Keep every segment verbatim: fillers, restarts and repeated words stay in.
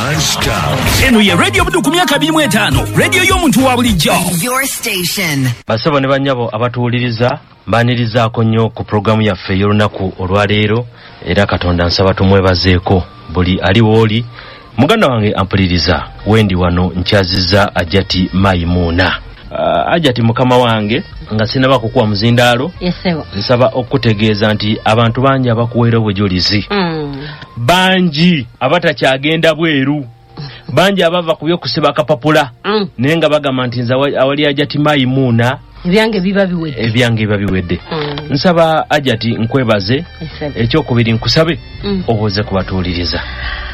Non-stop. Eno ye Radio Buddu ku myaka abiri mu etaano, radio y'omuntu wa bulijjo. Your station. Basebo ne bannyabo abatuwuliriza, mbaanirizaako nnyo ku pulogulaamu yaffe ey'olunaku olwaleero, era Katonda nsaba tumwebazeeko buli ali w'oli. Muganda wange ampuliriza, wendi wano nkyazizza Ajati Mayimuuna. Uh, Ajati mukama wange, nga sinaba kukuwa muzindaalo, Yesebo. nsaba okutegeeza nti abantu bangi abakuweera obujulizi, Mm. bangi abatakyagenda bweru, bangi abava ku by'okusiba akapapula, Mm. naye nga bagamba nti nze awali Ajati Mayimuuna ebyange biba biwedde, ebyange biba biwedde. Mm. Nsaba Ajati nkwebaze. Yesebo. Ekyokubiri nkusabe Mm. obuuze ku batuwuliriza.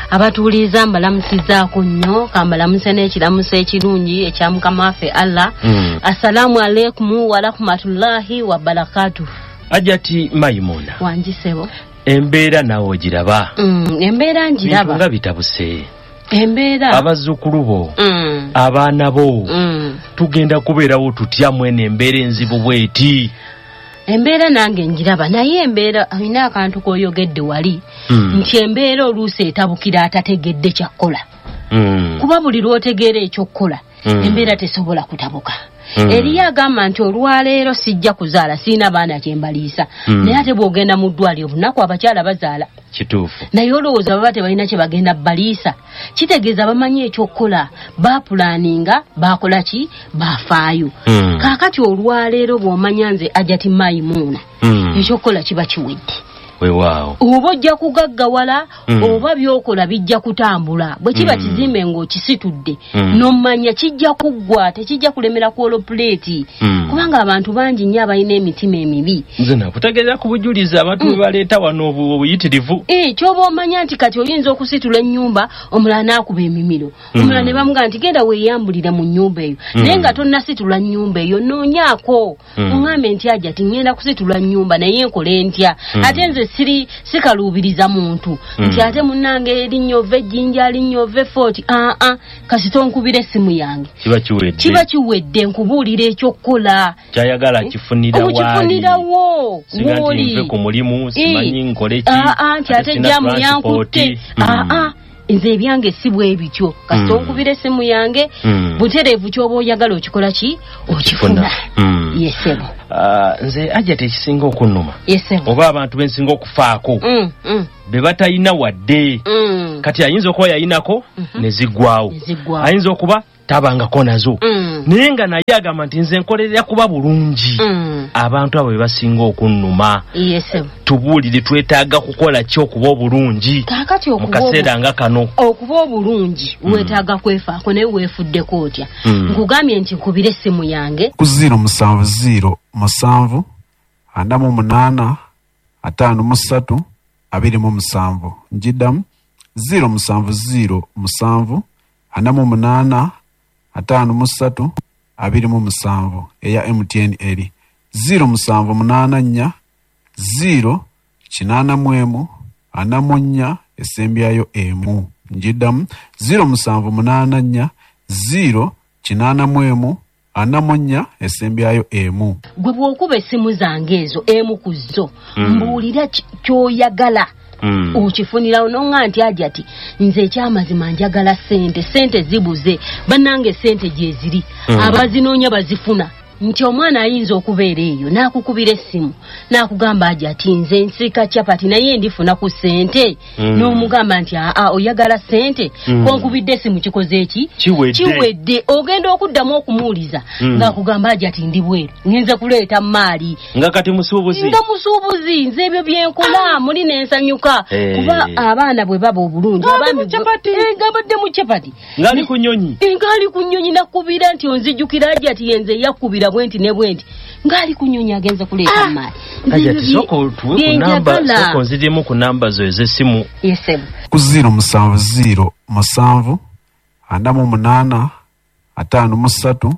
Abatuwuliriza mbalamusizaako nnyo, kambalamuse n'ekiramuso ekirungi ekya Mukama waffe Allah. Mm. Assalaamu alaikum warahmatullahi wabarakatuh. Ajati Mayimuuna, Wangi ssebo. embeera naawe ogiraba? Mm, embeera ngiraba. Bintu nga bitabuse. Embeera. Abazzukulu bo, Mm. abaana bo, Mm. tugenda kubeerawo tutya mwene embeera enzibu bw'eti? Embeera nange ngiraba, naye embeera alina akantu k'oyogedde wali, Mm. nti embeera oluusi etabukira atategedde kyakkola. Mm. Kuba buli lw'otegeera ekyokkola, Mm. embeera tesobola kutabuka. Mm. Eriyo agamba nti olwaleero sijja kuzaala, sirina baana kye mbaliisa. Mm. Naye ate bw'ogenda mu ddwaliro obunaku abakyala bazaala. Kituufu. Naye olowooza baba tebalina kye bagenda baliisa. Kitegeeza bamanyi ekyokkola, baapulaaninga, baakola ki? Baafaayo. Mm. Kaakati olwaleero bw'omanya nze Ajati Mayimuuna, Mm. ekyokkola kiba kiwedde. Weewaawo. Oba ojja kugaggawala, Mm. oba by'okola bijja kutambula. Bwe kiba Mm. kizimbe ng'okisitudde, Mm. n'omanya kijja kuggwa, tekijja kulemera ku olopuleeti. Mm. Kubanga abantu bangi nnyo abalina emitima emibi. Nze nakutegeeza ku bujulizi abantu Mm. bwe baleeta wano obu- obuyitirivu. Eh, ky'oba omanya nti kati oyinza okusitula ennyumba, omulala n'akuba emimiro. Mm. Omulala ne bamugamba nti genda weeyambulire mu nnyumba eyo. Mm. Naye nga tonnasitula nnyumba eyo, noonyaako. Mm. Oŋŋambe nti Ajati ŋŋenda kusitula nnyumba naye nkole ntya? Mm. Ate nze siri sikaluubiriza muntu. Mm. Nti ate munnange erinnya ova ejjinja, linnya ova effooti. Ah, ah, kasita onkubira essimu yange. Kiba kiwedde. Kiba kiwedde, nkubuulira eky'okukola. Kyayagala kifunira waali. Omukifunirawo, Singa nti w'oli. nve ku mulimu, simanyi Eh. nkole ki, Ah, ah, nti ate ate sina jjaamu transport. yankutte. Mm. Ah, ah, nze ebyange si bwe bityo. Kasita Mm. onkubira essimu yange, Mm. butereevu ky'oba oyagala okikola ki? Okifuna. Mm. Yesebo. Ah, nze Ajati ekisinga okunnuma, Yesebo. oba abantu bensinga okufaako, Mm, mm, be batalina wadde. mm. Kati ayinza okuba yayinako Mhm. ne ziggwawo, Ne ziggwawo. ayinza okuba tabangako nazo, Mm. naye nga naye agamba nti nze nkolerera kuba bulungi. Mm. Abantu abo be basinga okunnuma. Yesebo. Tubuulire, twetaaga kukola ki okuba obulungi Kaakati mu okuba kaseera nga kano? okuba obulungi Mm. weetaaga kwefaako, naye weefuddeko otya? Mm. Nkugambye nti nkubira essimu yange ku ziro musanvu ziro musanvu ana mu munaana ataano mu ssatu abiri mu musanvu. Njiddamu ziro musanvu ziro musanvu ana mu munaana ataano mu ssatu abiri mu musanvu eya M T N eri ziro musanvu munaana nnya ziro kinaana mu emu ana mu nnya esembyayo emu. Njiddamu ziro musanvu munaana nnya ziro kinaana mu emu ana mu nnya esembyayo emu. Gwe bw'okuba essimu zange ezo emu ku zo, Mm. mbuulira ki-, ky'oyagala. Mm. Okifunirawo n'oŋŋamba nti Ajati nze ekyamazima njagala ssente, ssente zibuze, bannange ssente gye ziri, Mm. abazinoonya bazifuna. Nti omwana ayinza okubeera eyo n'akukubira essimu n'akugamba Ajati nze nsika capati naye ndifuna ku ssente. Mm. N'omugamba nti aa, oyagala ssente? Mm. Konkubidde essimu kikoze ki? Kiwedde. Kiwedde. Ogenda okuddamu okumuwuliza Mm. ng'akugamba Ajati ndi bweru ngenze kuleeta maali. Nga kati musuubuzi. Nga musuubuzi, nze ebyo bye nkola muli ne nsanyuka. Eh. Kuba abaana bwe baba obulungi, Ng'ali abaami mu bwe- capati. Eh, ng'abadde mu capati. Ng'ali ku nnyonyi. Eh, ng'ali ku nnyonyi nakubira nti onzijjukira Ajati yenze yakubira bwenti ne bwenti. Ng'ali ku nnyonyi agenze kuleeta Ah. maali. Ajati, sooka otuwe ku namba, sooka onziremu ku namba zo ez'essimu. Yesebo. Ku ziro musanvu ziro musanvu ana mu munaana ataano mu ssatu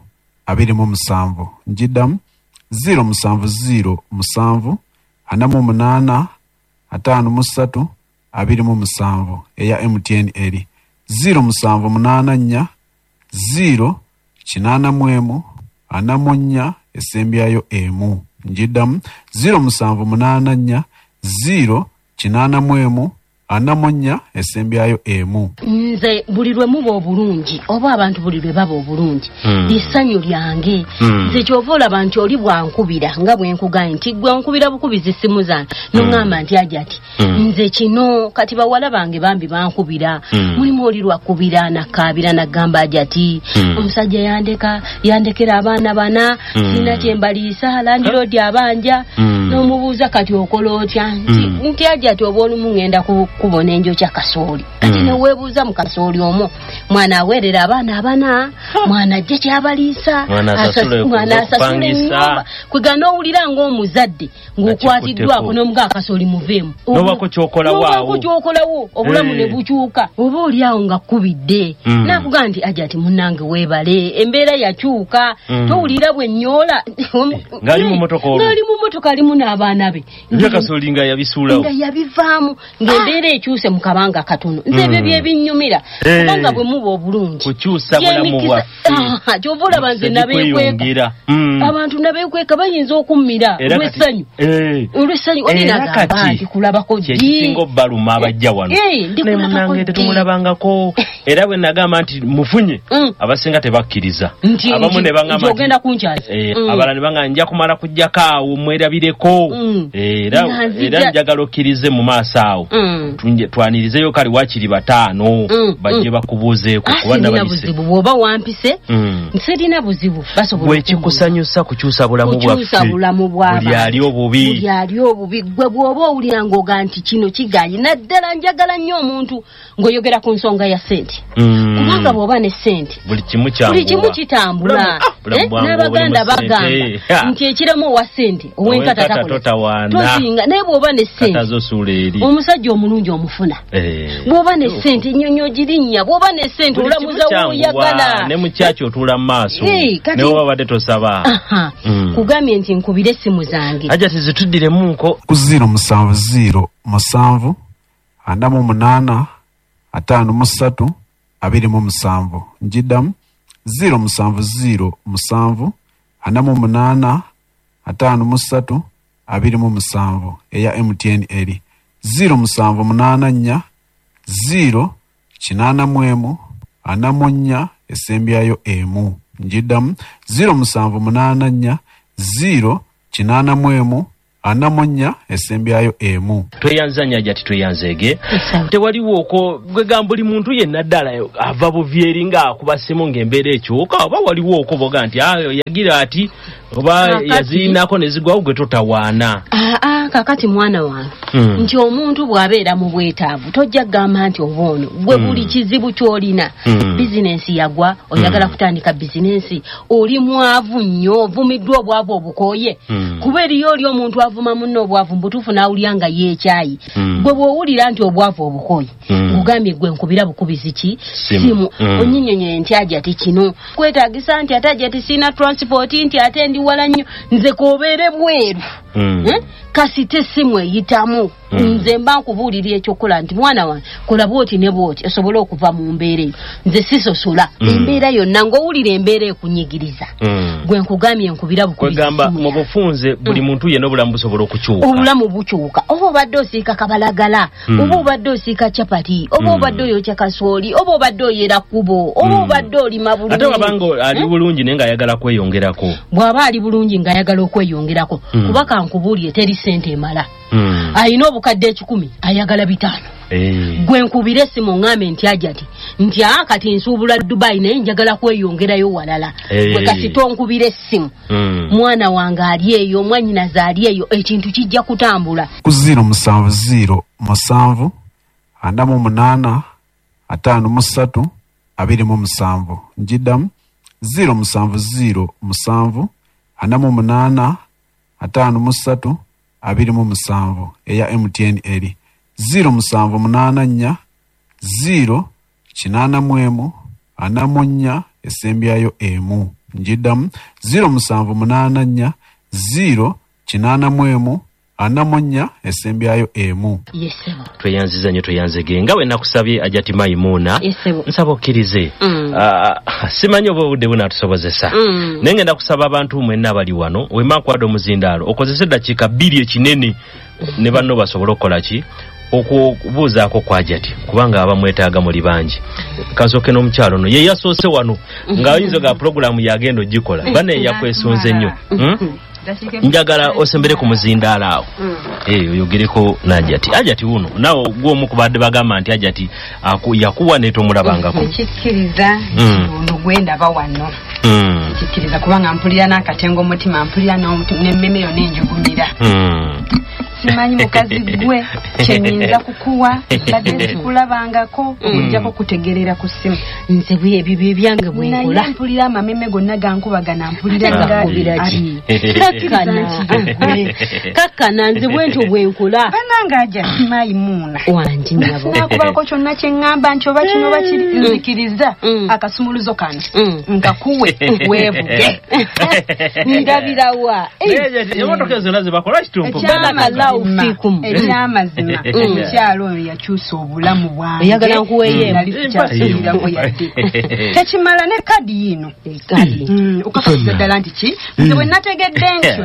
abiri mu musanvu. Njiddamu ziro musanvu ziro musanvu ana mu munaana ataano mu ssatu abiri mu musanvu eya M T N eri ziro musanvu munaana nnya ziro kinaana mu emu ana mu nnya esembyayo emu. Njiddamu ziro musanvu munaana nnya ziro kinaana mu emu ana mu nnya esembyayo emu. Nze buli lwe muba obulungi oba abantu buli lwe baba obulungi Mm. lissanyu lyange. Mm. Nze kyova olaba nti oli bwankubira nga bwe nkugambye nti gwe nkubira bukubizi ssimu zange n'oŋŋamba nti Hajati Mm. nze kino kati bawala bange bambi bankubira. Mm. Mulimu oli lwakubira nakkaabira nagamba Hajati Mm. omusajja yandeka yandekera abaana bana Mm. sina kye mbaliisa landiroodi abanja. Mm. N'omubuuza kati okola otya nti Mm. nti Hajati oba olumu ŋŋenda ku kubona enjokya kasooli kati Mm. neweebuuza mu kasooli omwo mwana aweerera abaana abana mwana ajje kyabaliisa Mwana asasule asas- mwana asasule okupangisa. ennyumba kwega n'owulira ng'omuzadde ng'okwatiddwako n'omuga akasooli muveemu N'obaako ky'okolawo awo. N'obaako ky'okolawo obulamu Eh. ne bukyuka oba oli awo nga kkubidde Mm. n'akugamba nti Hajati munnange weebale embeera yakyuka Mm. towulira bwe nnyoola Ng'ali mu mmotoka olwo. ng'ali mu mmotoka alimu n'abaana be Ebya kasooli nga yabisuulawo. Nga yabivaamu ng'embeera ekyuse mu kabanga katono. Nze ebyo Mm. bye binnyumira Eh. kubanga bwe muba obulungi Kukyusa bulamu Gy'emikisa- bwaffe. Aha, ky'ova olaba nze Emikisa nabeekweka. gikweyongera. Mm. Abantu nabeekweka bayinza okummira Era kati- olw'essanyu. Eh. Olw'essanyu oli Era nagamba kati nti kulabako ddi. kyekisinga obbaluma abajja wano. Eh, ndi Naye kulabako munnange ddi. tetumulabangako. Era bwe nagamba nti mufunye Mm. abasinga tebakkiriza. Nti- Abamu nti- ne baŋŋamba nti nti- ogenda kunkyaza. Eh, Mm. abalala ne baŋŋamba nja kumala kujjako awo mwerabireko. Mm. Eh, era Nga nzija- era njagala okkirize mu maaso awo. Mm. Tunje- twanirizeyo kale waakiri bataano Mm, bajje mm. bakubuuzeeko Ah, kuba sirina nabayise. buzibu bw'oba wampise Mm. sirina buzibu basobola Gwe okumbuuza. kikusanyusa kukyusa bulamu Kukyusa bwaffe. bulamu bw'abantu. Buli ali obubi. Buli ali obubi gwe bw'oba owulira ng'oga nti kino kiganye naddala njagala nnyo omuntu ng'oyogera ku nsonga ya ssente. Mm. Kubanga bw'oba ne ssente buli kimu kyanguwa. Buli kimu kitambula. Bulamu- ah, bulamu Eh, bwangu n'Abaganda obulimu ssente. bagamba Ha. nti ekiremu owa ssente ow'enkata Ow'enkata takola. totawaana. Tozinga naye bw'oba ne ssente Kata zosuula eri. omusajja omulungi omufuna. Eh. Bw'oba ne ssente ennyonyi ogirinnya bw'oba ne ssente Buli kimu olamuza kyanguwa. w'oyagala. Ne mu kyaki otuula mu maaso. Eh, kati- Ne bw'oba obadde tosaba. Aha. Mm. Kugambye nti nkubire essimu zange. Hajati zituddiremuko. Ku ziro musanvu ziro musanvu ana mu munaana ataano mu ssatu abiri mu musanvu. Njiddamu ziro musanvu ziro musanvu ana mu munaana ataano mu ssatu abiri mu musanvu eya M T N eri ziro musanvu munaana nnya ziro kinaana mu emu ana mu nnya esembyayo emu. Njiddamu ziro musanvu munaana nnya ziro kinaana mu emu ana mu nnya esembyayo emu. Tweyanza nnyo Hajati tweyanzeege. Esawa. Tewaliwo okwo gwe buli muntu yenna ddala ava buvi eri ng'akuba ssimu ng'embeera ekyuka oba waliwo okwo boga nti ah, yagira ati oba Kaakati- yazirinako ne zigwawo gwe totawaana. Aa, kaakati mwana wange Mm. nti omuntu bw'abeera mu bwetaavu tojja kugamba nti oba ono gwe Mm. buli kizibu ky'olina. Mm. Bizinensi yagwa oyagala Mm. kutandika bizinensi oli mwavu nnyo ovumiddwa obwavu obukooye. Mm. Kuba eriyo oli omuntu avuma munne obwavu mu butuufu n'awulira nga yeekyayi. Mm. Gwe bw'owulira nti obwavu obukooye Mm. nkugambye gwe nkubira bukubizi ki Simu. simu Mm. onnyinyonnyole nti Hajati kino kwetaagisa nti ate Hajati sirina transport nti ate ndi wala nnyo nze k'obeere bweru. Mm. Eh? Kasita essimu eyitamu Mm. nze mba nkubuulira ekyokukola nti mwana wange kola bw'oti ne bw'oti osobole okuva mu mbeera eyo nze sisosola Mm. embeera yonna ng'owulira embeera ekunyigiriza Mm. gwe nkugambye nkubira bukubizi Kwegamba simu mu yange. bufunze buli muntu yenna obulamu busobola okukyuka. Obulamu bukyuka oba obadde osiika kabalagala Mm. oba obadde osiika capati oba Mm. obadde oyokya kasooli oba obadde oyera kkubo oba Mm. obadde olima bulungi. Ate wabanga ali Eh? bulungi naye ng'ayagala kweyongerako. Bw'aba ali bulungi ng'ayagala okweyongerako Mm. kuba kankubuulire teri ssente emala. Mm. Alina obukadde ekikumi ayagala bitaano. Eh. Gwe nkubire essimu ŋŋambe nti Hajati nti aa kati nsuubula Dubai naye njagala kweyongerayo walala. Eh. Gwe kasita onkubira essimu Mm. mwana wange ali eyo mwannyinaze ali eyo ekintu kijja kutambula. Ku ziro musanvu ziro musanvu ana mu munaana ataano mu ssatu abiri mu musanvu. Njiddamu ziro musanvu ziro musanvu ana mu munaana ataano mu ssatu abiri mu musanvu eya M T N eri ziro musanvu munaana nnya ziro kinaana mu emu ana mu nnya esembyayo emu. Njiddamu ziro musanvu munaana nnya ziro kinaana mu emu ana mu nnya esembyayo emu. Yesebo. Tweyanziza nnyo tweyanzege nga bwe nakusabye Hajati Maimuna. Yesebo. Nsaba okkirize. Mm. Ah, simanyi oba obudde bunaatusobozesa. Mm. Naye ngenda kusaba abantu mwenna abali wano wemma nkuwadde omuzindaalo okozese eddakiika bbiri ekinene ne banno basobole okukola ki Okubuuzaako kwa Hajati kubanga abamwetaaga muli bangi. Kasooke n'omukyalo ono ye yasoose wano ng'ayinza ga pulogulaamu yagenda ogikola bane yakwesunze nnyo. Njagala osembere ku muzindaalo awo eh oyogereko n'Hajati. Hajati wuno naawe gw'omu ku badde bagamba nti Hajati yakuwa ne tomulabangako. Nkikkiriza ono gwendaba wano. Nkikkiriza kubanga mpulira n'akatengo omutima, mpulira n'emmeme yonna enjugumira. Simanyi mukazi gwe kyenyinza kukuwa badde sikulabangako okujjako kutegerera ku ssimu. Nze bwe ebyange bwe nkola. Naye mpulira amameme gonna gankubagana, mpulira gakubira ki? Kakkana kakkana nze bwentyo bwe nkola. Bannange Hajati Mayimuuna wangi nnyabo. Sinakubako kyonna kye ŋŋamba nti oba kino oba kiri, nzikiriza akasumuluzo kano nkakuwe weevuge. Ndabirawa emmotoka ezo zonna ze bakola kitumpu. Ekyamazima omukyalo oyo yakyusa obulamu bwange. Oyagala nkuweeyo nali sikyasuubirako yadde. Tekimala ne kadi yino okakasiza ddala nti ki nze bwe nategedde ntyo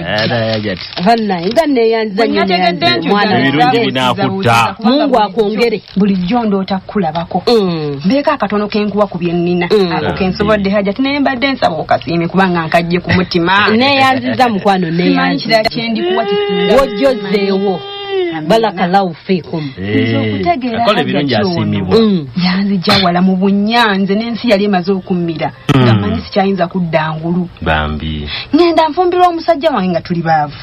bannaye nga neeyanziza nnyo ebirungi binaakutta. Mungu akwongere. Bulijjo ndoota kukulabako mbeeko akatono kenkuwa ku bye nnina ako kensobodde Hajati, naye mbadde nsaba okasiime kubanga nkajje ku mutima. Neeyanziza mukwano, neeyanziza. Simanyi kirala kye ndikuwa kisinga wojjozeewo. Barakallahu fikum. Okutegeera ebirungi asiimibwa. Yanzija wala mu bunyanze n'ensi yali emaze okummira nga mmanyi sikyayinza kudda ngulu. Bambi ŋŋenda nfumbirwa omusajja wange nga tuli baavu.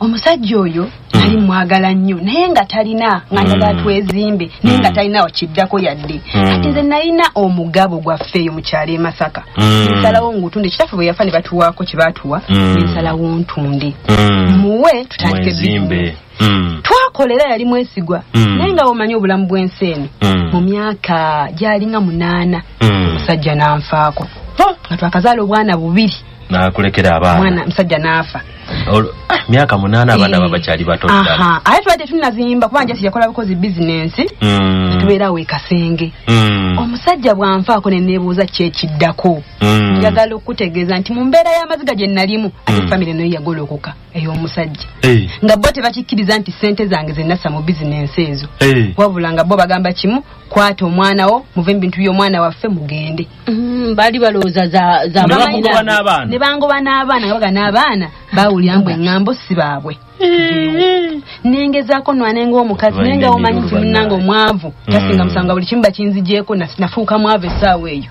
Omusajja oyo nali mwagala nnyo naye nga talina, nga njagala twezimbe naye nga talina wakiddako yadde. Kati nze nalina omugabo gwaffe eyo mu kyalo e Masaka. Nsalawo ngutunde, kitaffe bwe yafa ne batuwaako kye baatuwa, nsalawo ntunde muwe tutandike bizinesi. Twakolera yali mwesigwa naye nga omanyi obulamu bw'ensi eno. Mu myaka gyalinga munaana omusajja n'anfaako nga twakazaala obwana bubiri. Nakulekera abaana. Mwana musajja n'afa. Myaka munaana abaana babakyali bato ddala. Ate tubadde tunazimba kubanga Jasi yakola bukozi bizinensi tubeerawo e Kasenge. Omusajja bw'anfaako ne neebuuza ki ekiddako. Njagala okutegeeza nti mu mbeera y'amaziga gye nalimu ate famire nayo yagolokoka ey'omusajja. Nga bo tebakikkiriza nti ssente zange ze nassa mu bizinensi ezo. Wabula nga bo bagamba kimu, kwata omwana wo muve mu bintu by'omwana waffe mugende. Baali balowooza za za ne bangoba n'abaana nga baga n'abaana bawulira mbu eŋŋambo si baabwe. Nengezaako nwanenga omukazi naye nga omanyi nti munnange omwavu tasinga musango buli kimu bakinzigyeko, nafuuka mwavu essaawa eyo.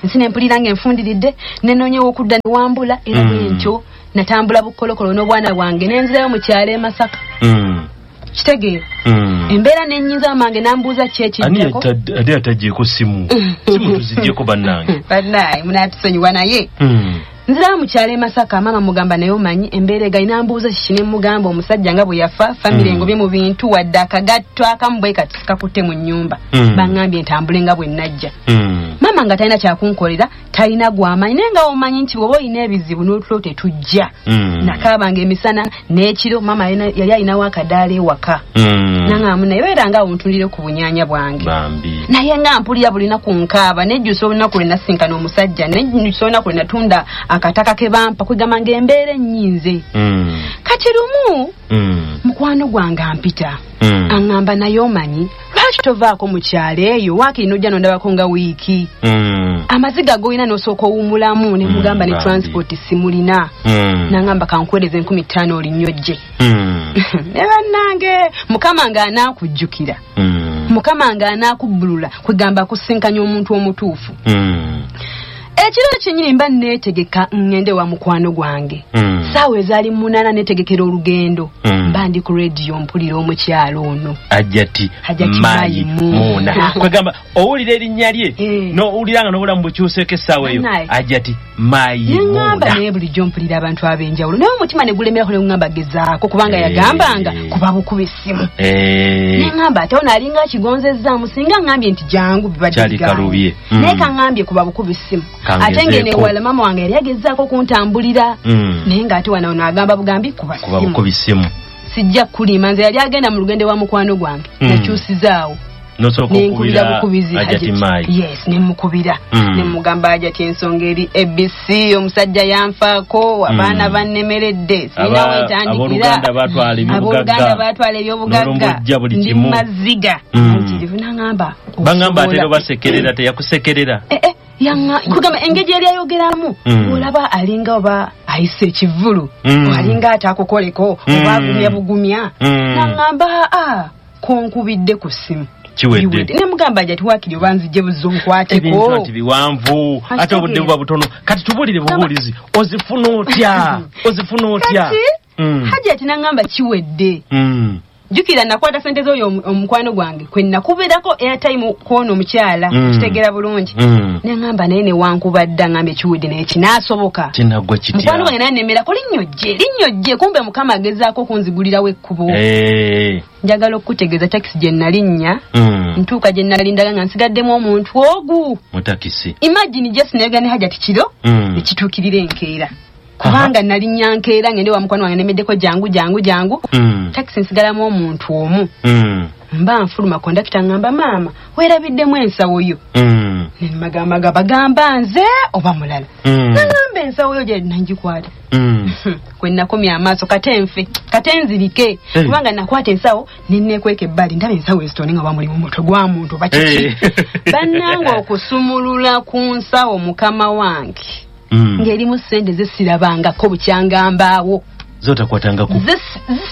Nsi ne mpulira nga enfundiridde nenoonyewo okudda ne wambula era bwentyo natambula bukolokolo n'obwana bwange nenzirayo mu kyalo e Masaka. Kitegeera embeera nennyinza mange nambuuza ki ekiddako. Ani atagyeko simu? Simu tuzigyeko bannange. Bannaye munatusonyiwa naye. Nzirayo mu kyalo e Masaka, maama mugamba naye omanyi embeera egayi, nambuuza kiki ne mugamba omusajja nga bwe yafa famire engobye mu bintu wadde akagatto akamu bwe kati sikakutte mu nnyumba. Baŋŋambye ntambule nga bwe najja. Maama nga talina kyakunkolera, talina gw'amanyi naye nga omanyi nti bw'oba olina ebizibu n'otulo tetujja. Nakaabanga emisana n'ekiro, maama yali alinawo akadaala ewaka. Naŋŋamba naye beera nga awo ntundire ku bunyaanya bwange. Naye nga mpulira buli lunaku nkaaba, nejjusa olunaku lwe nasinkana omusajja, nejjusa olunaku lwe natunda akataka ke bampa, kwegamba ng'embeera ennyinze. Kati lumu mukwano gwange ampita aŋŋamba naye omanyi lwaki tovaako mu kyalo eyo waakiri n'ojja n'ondabako nga wiiki. Amaziga g'olina n'osooka owummulamu. Ne mugamba ne transport simulina. N'aŋŋamba kankuweereze enkumi ttaano olinnyo ojje. Ne bannange Mukama ng'anaakujjukira, Mukama ng'anaakubbulula, kwegamba akusinkanya omuntu omutuufu. Ekiro kyennyini mba neetegeka ŋŋende wa mukwano gwange. Ssaawa ezaali munaana neetegekera olugendo. Mba ndi ku rediyo mpulira omukyalo ono Hajati Mayimuuna. Kwegamba owulira erinnya lye n'owulira nga n'obulamu bukyuseeko essaawa eyo. Hajati Mayimuuna. Neŋŋamba naye bulijjo mpulira abantu ab'enjawulo naye omutima ne gulemerako ne guŋŋamba gezaako kubanga yagambanga kuba bukuba essimu. Neŋŋamba ate ono alinga akigonzezzaamu singa ŋŋambye nti jangu bibadde bigambo. Naye kaŋŋambye kuba bukuba essimu. Ate ngene wala mama wange yali agezaako kuntambulira naye ng'ate wano ono agamba bugambi kuba simu. Sijja kulima nze yali agenda mu lugendo wa mukwano gwange nakyusizaawo. Nenkubira bukubizi Hajati. Yes, nemukubira. Mm. Nemugamba Hajati ensonga eri A B C, omusajja yanfaako, abaana mm. bannemeredde, sirina wentandikira. Abooluganda batwala ebyobugagga. Abooluganda batwala ebyobugagga. Ndi maziga. Mm. Nangamba. Bangamba ate basekerera teyakusekerera. Eh eh. Yanga kugamba engeri yali ayogeramu mm. olaba alinga oba ayise ekivulu mm. alinga atakukoleko mm. oba agumya bugumya mm. nangamba a konkubidde ku ssimu kiwedde nemugamba Hajati wakiri oba nzije buzonkwateko ebintu nti biwanvu ate obudde buba butono kati tubulire bubuulizi ozifuna otya ozifuna otya mm. Hajati nangamba kiwedde mm. Jukira nakwata sente z'oyo omukwano gwange kwe nakubeerako airtime kwono omukyala mm. kitegera bulungi mm. nengamba naye ne wankubadda ngambe kiwedde naye kinaasoboka kinaggwa kitya mukwano gwange naye nemerako linnyo jje linnyo jje kumbe Mukama agezaako okunzigulirawo ekkubo hey. Njagala okukutegeeza takisi gye nalinnya mm. ntuuka gye nalindaga nga nsigaddemu omuntu ogu mu takisi imagine just nayogera ne Hajati kiro mm. ekituukirira enkeera kubanga nalinnya nkeera ngende wa mukwano wange nemeddeko jangu jangu jangu mm. takisi nsigalamu omuntu omu mm. mba nfuluma kondakita ngamba maama weerabiddemu ensawo yo mm. nemagamba bagamba nze oba mulala mm. nangamba ensawo yo gye nangikwata mm. kwe nakomya amaaso kate nfe kate nzirike hey. Kubanga nakwata ensawo nenneekweka ebbali ndaba ensawo ezitone nga bamulimu omutwe gwa muntu oba kiki hey. Bannange okusumulula ku nsawo mukama wange Mm. Ng'erimu ssente zesirabangako bukyangambaawo zotakwatangako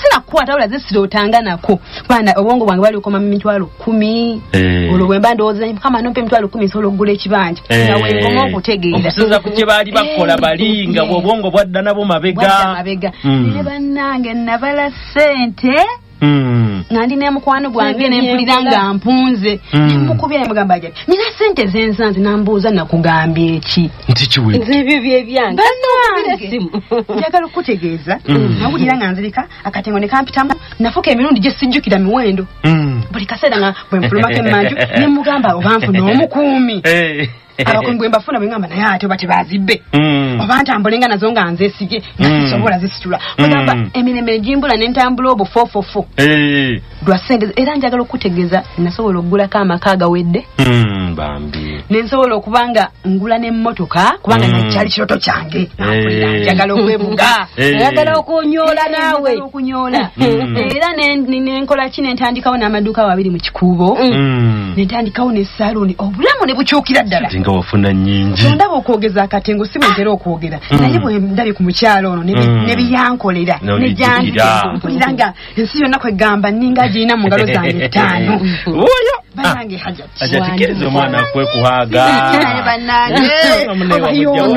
sinakukwata wabula zesirootanga nako kubanga obwongo bwange bali bukoma mu mitwalo kkumi hey. Olwo bwe mba ndowooza Mukama nompa emitwalo kkumi nsobola okugula ekibanja hey. nga wenkoma okutegeera okusinza ku kye baali bakola bali nga bw'obwongo bwadda nabo mabega bwadda mabega mm. Naye bannange nabala ssente Mm. nga ndi n'emukwano gwange nempulira nga mpunze mm. nemukubira nemugamba Hajati nina ssente zensanze nambuuza nakugambye eki nti kiwedde nze ebyo byebyange bannange njagala okukutegeeza mm. nawulira nga nzirika akatengo ne kampitamu nafuka emirundi gye sijjukira miwendo mm. buli kaseera nga bwe nfulumako emmanju ne mugamba oba nfuna omukuumi hey. Abakuumi bwe mbafuna bwe ngamba naye ate oba tebazibbe mm. oba ntambulenga nazo nga nzeesige nga mm. sisobola zisitula kugamba mm. emirembe gimbula ne ntambula obufoofofo hey. lwa ssente era njagala okukutegeeza nasobola okugulako amaka agawedde mm, bambi ne nsobola okuba nga ngula n'emmotoka kubanga mm. nakyali kirooto kyange nampulira hey. njagala okwebuga hey. oyagala okunyoola naawe okunyoola mm. era nenkola ki nentandikawo n'amaduuka abiri mu kikuubo mm. nentandikawo ne saluuni obulamu ne bukyukira ddala nga wafuna nnyingi ndaba okwogeza akatengo si bwe ntera okwogera mm. naye bwe ndabye ku mukyalo ono mm. ne byankolera ne gyanzikira nga ensi yonna kwegamba nninga agirina mu ngalo zange ttaano oyo bannange Hajati Hajati kkiriza omwana akwekuhaaga naye bannange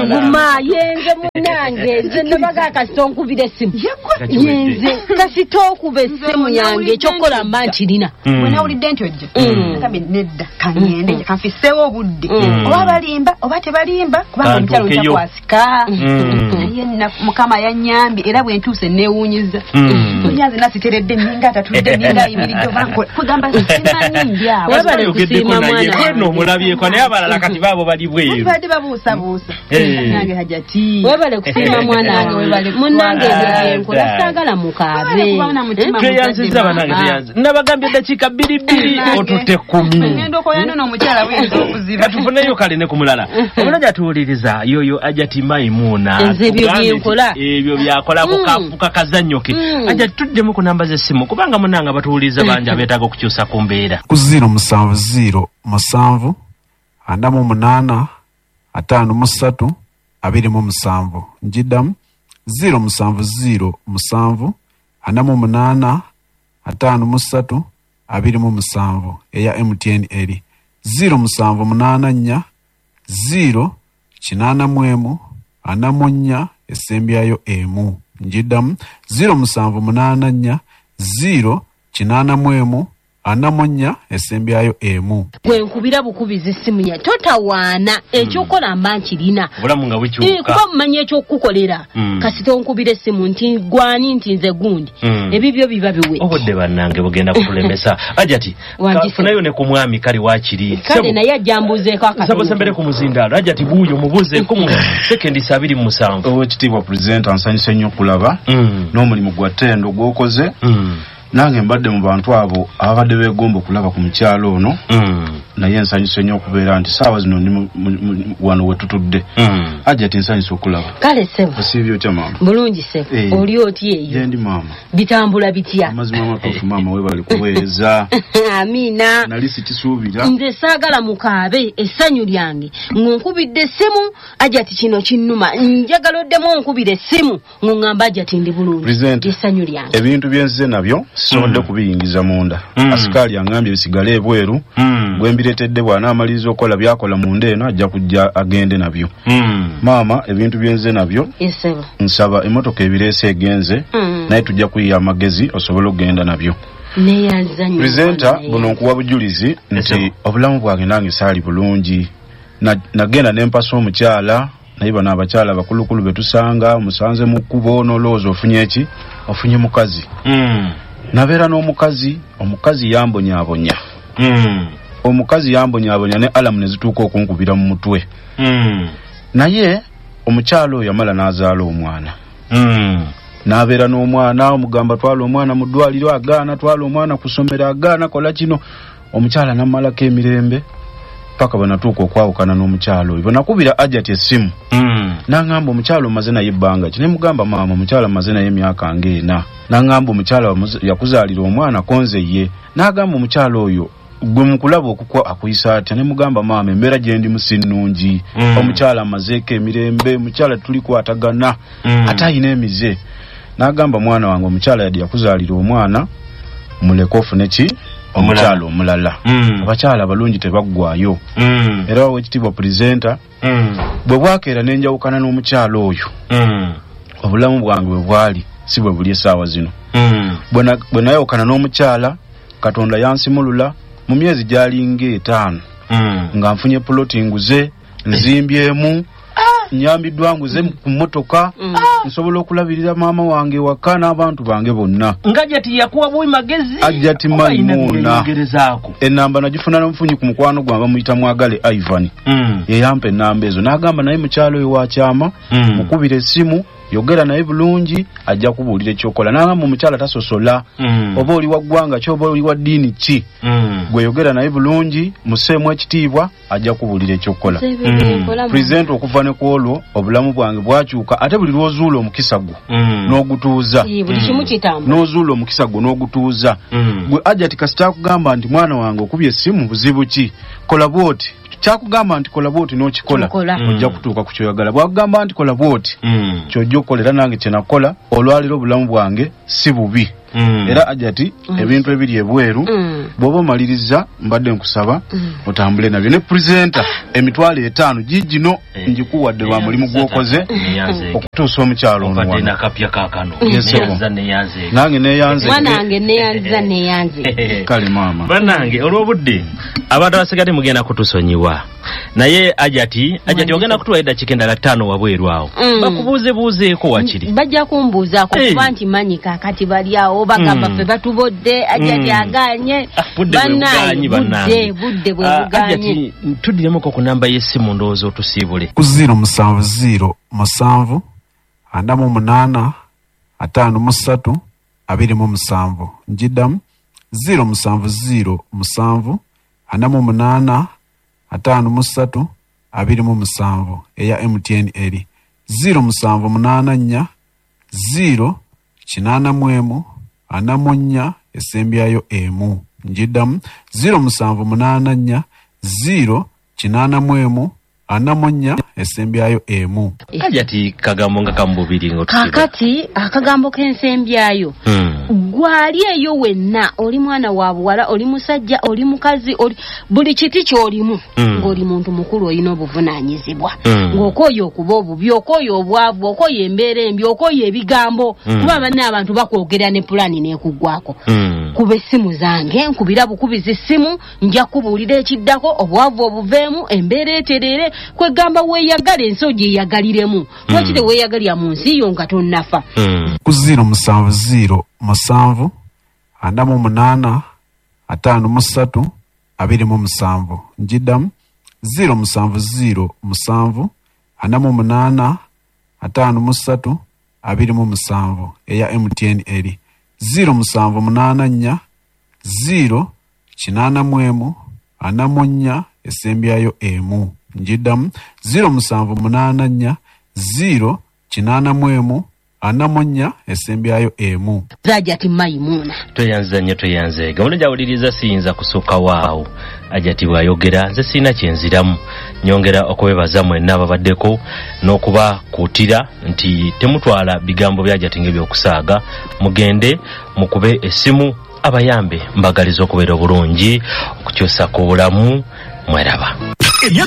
guma yenze munnange nze nabaga kasita onkubira essimu yenze kasita okuba essimu yange ekyokukola mba nkirina bwe nawulidde nti ojja nagambye nedda kaŋŋende kanfiseewo obudde oba balimba oba tebalimba kubanga omukyalo ntakwasika naye Mukama yannyambye era bwe ntuuse neewuunyiza onyanze nasiteredde nninga atatudde nninga ayimiridde oba nkola kugamba simanyi ndi awo Webale kusiima mwana kweno omulabyeko naye abalala kati baabo bali bweru badde babuusabuusa nange Hajati webale kusiima mwana wange munnange ebyo byenkola saagala mukaabe tweyanzizza bannange tweyanziza nabagambye eddakiika bbiri bbiri otutte kkumi ngenda okoyano n'omukyala buyinza okuziba katufuneyo kale ne ku mulala omulala atuwuliriza yoyo Hajati Maimuna nze ebyo byenkola ebyo byakolako kafuka kazannyo ke Hajati tuddemu ku namba z'essimu kubanga munnange abatuwuliriza bangi abeetaaga okukyusa ku mbeera ku ziro musanvu ziro musanvu ana mu munaana ataano mu ssatu abiri mu musanvu njiddamu ziro musanvu ziro musanvu ana mu munaana ataano mu ssatu abiri mu musanvu eya M T N eri ziro musanvu munaana nnya ziro kinaana mu emu ana mu nnya esembyayo emu njiddamu ziro musanvu munaana nnya ziro kinaana mu emu ana mu nnya esembyayo emu gwe nkubira bukubizi essimu ya totawaana ekyokukola mba nkirina obulamu nga bukyuka kuba mumanyi ekyokukukolera mm. kasita onkubira essimu nti gwani nti nze gundi mm. ebibyo biba biwe obudde bannange bugenda kutulemesa Hajati kafunayo ne ku mwami kale waakiri kale naye ajja mbuuzeeko akatono sembere ku muzindaalo Hajati buuyo mubuuzeeko mu sekendi abiri mu musanvu Oweekitiibwa pulezidenti ansanyuse nnyo okulaba mm. n'omulimu gwa ttendo gw'okoze mm. Nange mbadde mu bantu abo ababadde beegomba okulaba ku mukyalo ono. Mm. Naye nsanyuse nnyo okubeera nti saawa zino ndi wano we tutudde. Mm. Ajja nsanyuse okulaba. Kale ssebo. Osiibye otya maama? Bulungi ssebo. Eh. Oli otya eyo? Gye ndi maama. Bitambula bitya? Amazima amatuufu maama, weebale kuweereza. Amiina. Nali sikisuubira. Nze saagala mukaabe essanyu lyange ng'onkubidde essimu ajja ti kino kinnuma, njagala oddemu onkubire essimu ng'oŋŋamba ajja ti ndi bulungi. Presenter, essanyu lyange. Ebintu bye nzize nabyo sisobodde Mm. kubiyingiza munda. Mm. Asikaali aŋŋambye bisigale ebweru. Mm. Gwe mbireetedde bw'anaamaliriza okukola by'akola munda eno ajja kujja agende nabyo. Mm. Maama, ebintu bye nzize nabyo Ssebo. nsaba emmotoka ebireese egenze, Mm. naye tujja kuyiya amagezi osobole okugenda nabyo. Neeyanza nnyo. Presenter, Mwana, buno nkuwa bujulizi nti Ssebo. obulamu bwange nange saali bulungi. Na- Nagenda ne mpasa omukyala, naye bano abakyala abakulukulu be tusanga, omusanze mu kkubo n'olowooza ofunye ki? Ofunye mukazi. Mm. Nabeera n'omukazi, omukazi yambonyaabonya. Mm. Omukazi yambonyaabonya ne alamu ne zituuka okunkubira mu mutwe. Mm. Naye omukyala oyo yamala n'azaala omwana. Mm. N'abeera n'omwana, omugamba twala omwana mu ddwaliro agaana, twala omwana ku ssomero agaana, kola kino. Omukyala n'ammalako emirembe paka bwe natuuka okwawukana n'omukyala oyo. Bwe nakubira Ajati essimu, Mm. n'aŋŋamba omukyala omaze naye ebbanga ki? Ne mugamba maama omukyala mmaze naye emyaka ng'ena. N'aŋŋamba omukyala wamuza-, yakuzaalira omwana konze ye. N'agamba omukyala oyo gwe mukulaba okukwa akuyisa atya? Ne mugamba maama embeera gye ndimu si nnungi. Mm. Omukyala amazeeko emirembe, omukyala tulikwatagana, Mm. ate ayina emize. N'agamba mwana wange omukyala yadde yakuzaalira omwana, muleke ofune ki? Omukyala omulala. Mm. Abakyala abalungi tebaggwaayo. Mm. Era oweekitiibwa presenter, Mm. bwe bwakeera ne njawukana n'omukyala oyo, Mm. obulamu bwange bwe bwali si bwe buli essaawa zino. Mm. Bwe na-, bwe nayawukana n'omukyala, Katonda yansimulula mu myezi gy'alinga etaano. Mm. Nga nfunye puloti nguze, nzimbyemu, nyambiddwa nguze ku mmotoka, Mm. nsobola okulabirira maama wange ewaka n'abantu bange bonna. Nga Ajati yakuwa buwi magezi? Ajati Oba ayina Maimuna. byeyeyogerezaako? Ennamba nagifuna n'omufunyi ku mukwano gwange bamuyita Mwagale Ivan. Mm. Ye yampa ennamba ezo n'agamba naye mukyalo oyo wa kyama, Mm. mukubire essimu, yogera naye bulungi, ajja kubuulira ekyokola. N'agamba omukyala tasosola, Mm. oba oli wa ggwanga ki oba oli wa ddiini ki, Mm. gwe yogera naye bulungi, musseemu ekitiibwa, ajja kubuulira ekyokukola. Nze ebyo bye nkola mu- Presenter, okuva ne ku olwo obulamu bwange bwakyuka, ate buli lw'ozuula omukisa gwo Mm. n'ogutuuza. Ee, buli kimu kitambula. N'ozuula omukisa gwo n'ogutuuza. Mm. Gwe Ajati kasita akugamba nti mwana wange okubye essimu buzibu ki, kola bw'oti. Kyakugamba nti kola bw'oti n'okikola, Kikola. Mm. ojja kutuuka ku kyoyagala. Bw'akugamba nti kola bw'oti, Mm. ky'ojja okukola. Era nange kye nakola, olwaleero obulamu bwange si bubi. Mm. Era Ajati, Mm. ebintu ebiri ebweru, Mm. bw'oba omaliriza mbadde nkusaba Mm. otambule nabyo. Ne presenter, emitwalo etaano giigino Eh, ngikuwadde lwa mulimu gw'okoze Neyanzeege. okutuusa omukyalo ono Obadde wano. nakapya kaakano. Yes, sir. Neyanza, neyanzeege. Nange neyanze. Mwana wange neyanza, neyanze. Kale maama. Bannange olw'obudde abantu abasigadde mugenda kutusonyiwa, naye Ajati, Ajati ogenda kutuwa eddakiika endala ttaano wabweru awo, Mm. bakubuuzebuuzeeko wakiri. Bajja kumbuuzaako Eh. kuba nti manyi kaakati bali awo bagamba Mm. ffe batubodde, Ajati Mm. aganye. Ah, budde bwe bugaanyi Bannange, bannange. budde budde bwe Ah, bugaanye. Ajati, tuddiremuko ku namba y'essimu ndowooza otusiibule. Ku ziro musanvu ziro musanvu ana mu munaana ataano mu ssatu abiri mu musanvu. Njiddamu ziro musanvu ziro musanvu ana mu munaana ataano mu ssatu abiri mu musanvu. Eya M T N eri ziro musanvu munaana nnya ziro kinaana mu emu ana mu nnya esembyayo emu. Njiddamu ziro musanvu munaana nnya ziro kinaana mu emu ana mu nnya esembyayo emu. Ajati kagambo nga kamububiri nga otusiiba. Kaakati akagambo k'ensembyayo. Mm. Gwali eyo wenna, oli mwana wa buwala, oli musajja, oli mukazi, oli buli kiti ky'olimu, Mm. ng'oli muntu mukulu olina obuvunaanyizibwa. Mm. Ng'okooye okuba obubi, okooye obwavu, okooye embeera embi, okooye ebigambo. Mm. Kuba banne abantu bakwogera ne pulaani n'ekuggwako. Mm. Kuba essimu zange, nkubira bukubizi ssimu, nja kubuulira ekiddako, obwavu obuveemu, embeera etereere, kwegamba weeyagale ensi ogyeyagaliremu. Lwaki Mm. teweeyagalira mu nsi yo nga tonnafa? Mm. Ku ziro musanvu ziro musanvu ana mu munaana ataano mu ssatu abiri mu musanvu. Njiddamu ziro musanvu ziro musanvu ana mu munaana ataano mu ssatu abiri mu musanvu. Eya M T N eri Ziro musanvu munaana nnya ziro kinaana mu emu ana mu nnya esembyayo emu. Njiddamu ziro musanvu munaana nnya ziro kinaana mu emu ana mu nnya esembyayo emu. Hajati Maimuna. Tweyanza nnyo, tweyanzeega. Mulungi awuliriza, siyinza kusukka waawo Hajati bw'ayogera, nze sirina kyenziramu. Nyongera okubebaza mwenna ababaddeko n'okubakuutira nti temutwala bigambo bya Hajati ng'ebyokusaaga, mugende mukube essimu abayambe. Mbagaliza okubeera obulungi, okukyusa ku bulamu. Mweraba. Emyaka